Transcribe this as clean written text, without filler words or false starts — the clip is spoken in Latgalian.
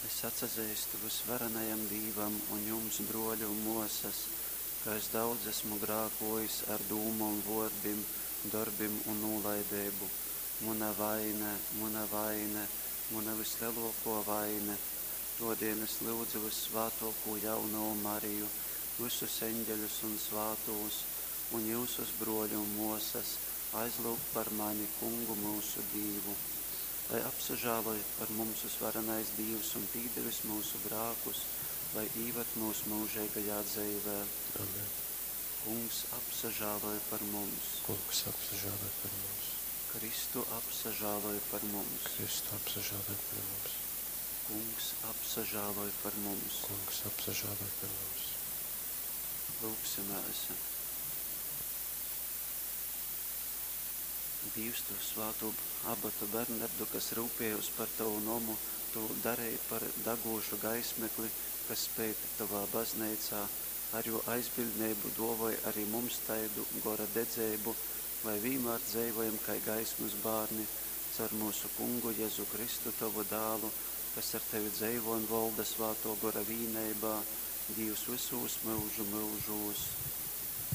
Es atsazeistu vysvarenajam Dīvam un jums, brōli un mōsas, ka es daudz esmu grākōjis ar dūmom, vōrdim, dorbim un nūlaideibu. Muna vaine, muna vaine, muna vyslelōkō vaine. Tōdēļ es lyudzu vyssvātōkū Jaunovu Mariju, vysus eņģeļus un svātūs, un jyusus, brōli un mōsas, aizlyugt par mani Kungu myusu Dīvu. Lai apsažāloj par mums vysvarenais Dīvs un pīdevis myusu grākus, lai īvad myus myužeigajā dzeivē. Amen. Kungs, apsažāloj par mums! Kungs, apsažāloj par mums! Kristu, apsažāloj par mums! Kristu, apsažāloj par mums! Kungs, apsažāloj par mums! Kungs, apsažāloj par mums! Lūgsimēs! Dīvs, tu svātū abatu Bernardu, kas ryupējōs par tovu nomu, tu dareji par dagūšu gaismekli, kas speid tovā bazneicā, ar jō aizbiļdneibu dōvoj ari mums taidu gora dedzeibu, lai vīnmār dzeivojam kai gaismas bārni, caur myusu Kungu Jezu Kristu, tovu Dālu, kas ar tevi dzeivo un volda Svātō Gora vīneibā, Dīvs vysūs myužu myužūs.